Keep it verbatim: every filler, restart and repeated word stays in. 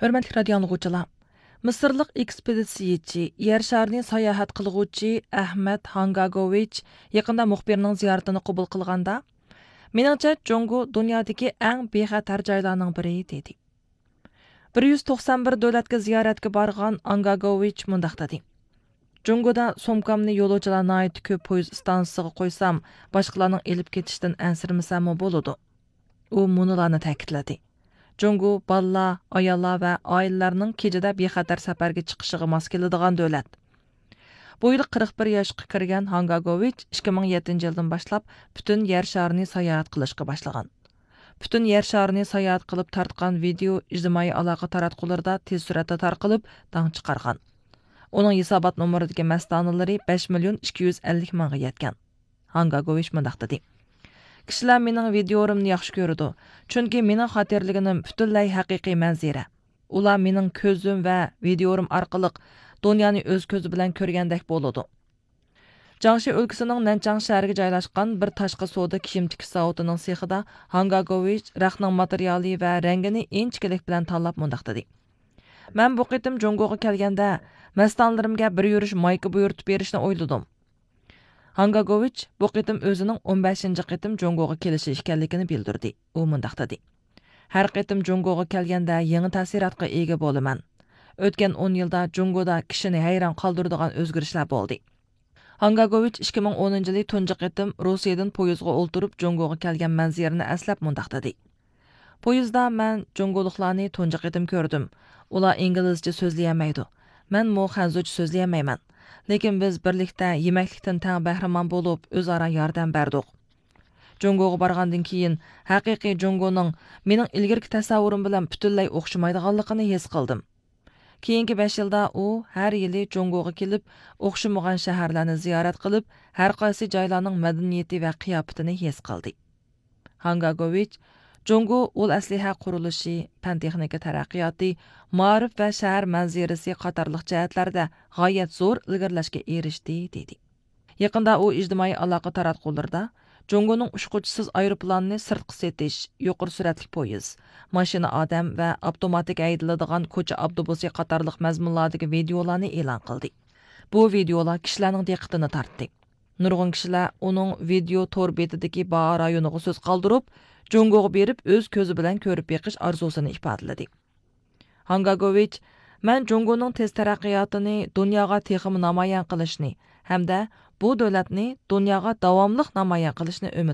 ھۆرمەتلىك رادىيو ئاڭلىغۇچىلار، مىسىرلىق ئېكسپېدىتسىيىچى، يەر شارىنى ساياھەت قىلغۇچى ئەھمەد ھانگاگوۋىچ يېقىندا مۇخبىرنىڭ زىيارىتىنى قوبۇل قىلغاندا، مېنىڭچە، جۇڭگو دۇنيادىكى ئەڭ بىخەتەر جايلارنىڭ بىرى، دېدى. بىر يۈز توقسان بىر دۆلەتكە زىيارەتكە بارغان ھانگاگوۋىچ مۇنداق دېدى: جۇڭگودا سومكامنى يولۇچىلار ناھايىتى كۆپ پويىز ئىستانسىسىغا قويسام، باشقىلارنىڭ ئېلىپ كېتىشتىن ئەنسىرىمىسەممۇ بولىدۇ. ئۇ مۇنۇلارنى تەكىتلىدى: جۇڭگو بالىلار، ئاياللار ۋە ئائىلىلەرنىڭ كېچىدە بىخەتەر سەپەرگە چىقىشىغا ماس كېلىدىغان دۆلەت. بۇ يىل قىرىق بىر ياشقا كىرگەن ھانگاگوۋىچ ئىككى مىڭ يەتتىنچى يىلدىن باشلاپ پۈتۈن يەر شارىنى ساياھەت قىلىشقا باشلىغان. پۈتۈن يەر شارىنى ساياھەت قىلىپ تارتقان ۋىدېئو ئىجتىمائىي ئالاقە تاراتقۇلىرىدا تېز سۈرئەتتە تارقىلىپ، داڭ چىقارغان. ئۇنىڭ ھېسابات نومۇرىدىكى مەستانىلىرى بەش مىليون ئىككى يۈز ئەللىك مىڭغا يەتكەن. ھانگاگوۋىچ مۇنداق دېدى: كىشىلەر مېنىڭ ۋىدېئولىرىمنى ياخشى كۆرىدۇ، چۈنكى مېنىڭ خاتىرىلىگىنىم پۈتۈنلەي ھەقىقىي مەنزىرە. ئۇلار مېنىڭ كۆزۈم ۋە ۋىدېئولىرىم ئارقىلىق دۇنيانى ئۆز كۆزى بىلەن كۆرگەندەك بولىدۇ. جياڭشى ئۆلكىسىنىڭ نەنچاڭ شەھىرىگە جايلاشقان بىر تاشقى سودا كىيىم تىكىش زاۋۇتىنىڭ سېخىدا ھانگاگوۋىچ رەختنىڭ ماتېرىيالى ۋە رەڭگىنى ئىنچىكىلىك بىلەن تاللاپ مۇنداق دېدى: مەن بۇ قېتىم جۇڭگوغا كەلگەندە، مەستانىلىرىمگە بىر يۈرۈش مايكا بۇيرۇتۇپ بېرىشنى ئويلىدىم. ھانگاگوۋىچ بۇ قېتىم ئۆزىنىڭ ئون بەشىنچى قېتىم جۇڭگوغا كېلىشى ئىكەنلىكىنى بىلدۈردى. ئۇ مۇنداق دېدى: ھەر قېتىم جۇڭگوغا كەلگەندە يېڭى تەسىراتقا ئىگە بولىمەن. ئۆتكەن ئون يىلدا جۇڭگودا كىشىنى ھەيران قالدۇرىدىغان ئۆزگىرىشلەر بولدى. ھانگاگوۋىچ ئىككى مىڭ ئونىنچى يىلى تۇنجى قېتىم روسىيەدىن پويىزغا ئولتۇرۇپ جۇڭگوغا كەلگەن مەنزىرىنى ئەسلەپ مۇنداق دېدى: پويىزدا مەن جۇڭگولۇقلارنى تۇنجى قېتىم كۆردۈم. ئۇلار ئىنگلىزچە سۆزلىيەلمەيدۇ. مەنمۇ خەنزۇچە سۆزلىيەلمەيمەن. لېكىن بىز بىرلىكتە يېمەكلىكتىن تەڭ بەھرىمەن بولۇپ، ئۆزئارا ياردەم بەردۇق. جۇڭگوغا بارغاندىن كېيىن، ھەقىقىي جۇڭگونىڭ مېنىڭ ئىلگىرىكى تەسەۋۋۇرۇم بىلەن پۈتۈنلەي ئوخشىمايدىغانلىقىنى ھېس قىلدىم. كېيىنكى بەش يىلدا ئۇ ھەر يىلى جۇڭگوغا كېلىپ، ئوخشىمىغان شەھەرلەرنى زىيارەت قىلىپ، ھەر قايسى جايلارنىڭ مەدەنىيىتى ۋە قىياپىتىنى ھېس قىلدى. ھانگاگوۋىچ، جۇڭگو ئۇل ئەسلىھە قۇرۇلۇشى، پەن تېخنىكا تەرەققىياتى، مائارىپ ۋە شەھەر مەنزىرىسى قاتارلىق جەھەتلەردە غايەت زور ئىلگىرىلەشكە ئېرىشتى، دېدى. يېقىندا ئۇ ئىجتىمائىي ئالاقە تاراتقۇلىرىدا جۇڭگونىڭ ئۇچقۇچىسىز ئايروپىلانىنى سىرتقا سېتىش، يۇقىرى سۈرئەتلىك پويىز، ماشىنا ئادەم ۋە ئاپتوماتىك ھەيدىلىدىغان كوچا ئاپتوبۇسى قاتارلىق مەزمۇنلاردىكى ۋىدېئولارنى ئېلان قىلدى. بۇ ۋىدېئولار كىشىلەرنىڭ دىققىتىنى تارتتى. نۇرغۇن كىشىلەر ئۇنىڭ ۋىدېئو تور بېتىدىكى باھا رايونىغا سۆز قالدۇرۇپ، جۇڭگوغا بېرىپ ئۆز كۆزى بىلەن كۆرۈپ بېقىش ئارزۇسىنى ئىپادىلىدى. ھانگاگوۋىچ، مەن جۇڭگونىڭ تېز تەرەققىياتىنى دۇنياغا تېخىمۇ نامايان قىلىشنى ھەمدە بۇ دۆلەتنى دۇنياغا داۋاملىق نامايان قىلىشنى ئۈمىد